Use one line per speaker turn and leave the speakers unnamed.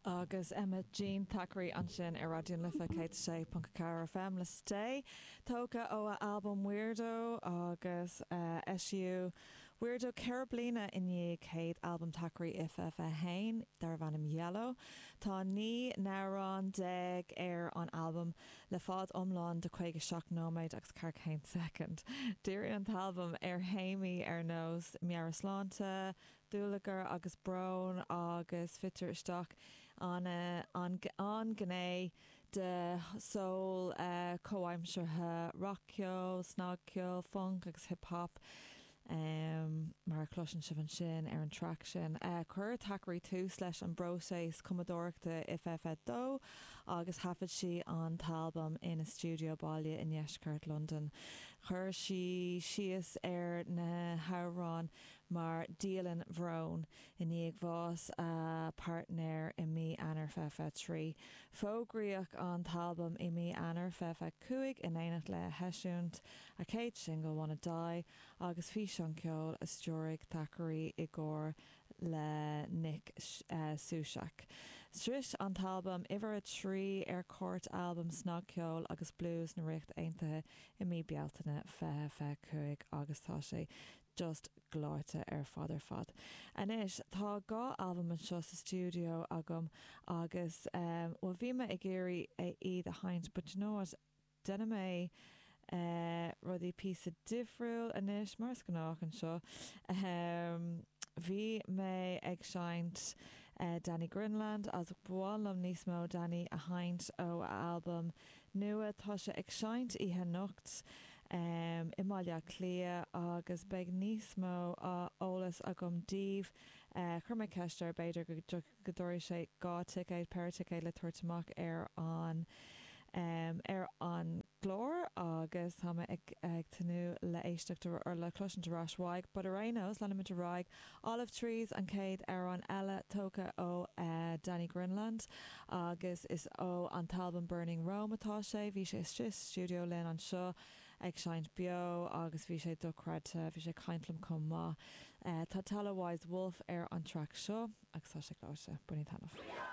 Agus Emma Jean Thackeray ansin ar Raidió na Life 106.4 FM le Stay, tógtha ó a albam Weirdo agus eisíodh Weirdo 4 bliana i ndiaidh chéad albam Thackeray i 2021 darbh ainm Yellow. Tá 19 n-amhrán ar an albam le fad iomlán de 57 nóiméad agus 41 soicind. Díríonn an t-albam ar théamaí ar nós meabhairshláinte, dúlagar agus brón agus fitear isteach an an ghné de cheol comhaimseartha, rac-cheol, snagcheol, func agus hip hop mar a chloiseann sibh ansin ar an traic sin. Chuir Thackeray tús leis an bpróiseas cumadóireachta i 2022 agus thaifead sí an t-albam ina stiúideo baile i ndeisceart Londan. Chuir sí síos ar na hamhráin mar dialann bhróin i ndiaidh bhás a páirtnéir i mí Eanáir 2023. Fógraíodh an t-albam i mí Eanáir 2025 in éineacht le heisiúint a céad singil Wanna Die agus físeán ceoil a stiúraigh Thackeray i gcomhar le Nick Sushak. Shroich an t-albam uimhir 3 ar chairt albam snagcheoil agus blues na Ríochta Aontaithe i mí Bealtaine 2025 agus tá sé just gleoite ar fad ar fad. Anois, tá 2 albam anseo sa stiúideo agam agus eh, bhuel bhí mé ag iarraidh iad a sheinnt but you know what, déanfaidh mé eh rudaí píosa difriúil anois, mar is gnách anseo. Ehm, bhí mé ag seinnt eh Danny Grinland agus ba mhaith liom níos mó Danny a sheinnt ó a albam nua. Tá sé ag seinnt oíche anocht i mBaile Átha Cliath agus beidh níos mó eolas agam daoibh. Chuir mé ceist air b'fhéidir go dtabharfaidh sé 2 ticéad, péire ticéad le tabhairt amach ar an ar an gclár agus tá mé ag ag tnúth le éisteacht or le cloisint ar ais uaidh. But ar aon nós, leanfaimid ar aghaidh. Olive Trees an chéad amhrán eile tógtha ó Danny Grinland agus is ó an t-albam Burning Rome atá sé. Bhí sé istigh sa stiúideo linn anseo ag seinnt beo agus bhí sé dochreidte. Bhí sé ag caint liom chomh maith. Tá Tala Wise Wolf ar an traic seo agus tá sé gleoite. Bainígí taitneamh.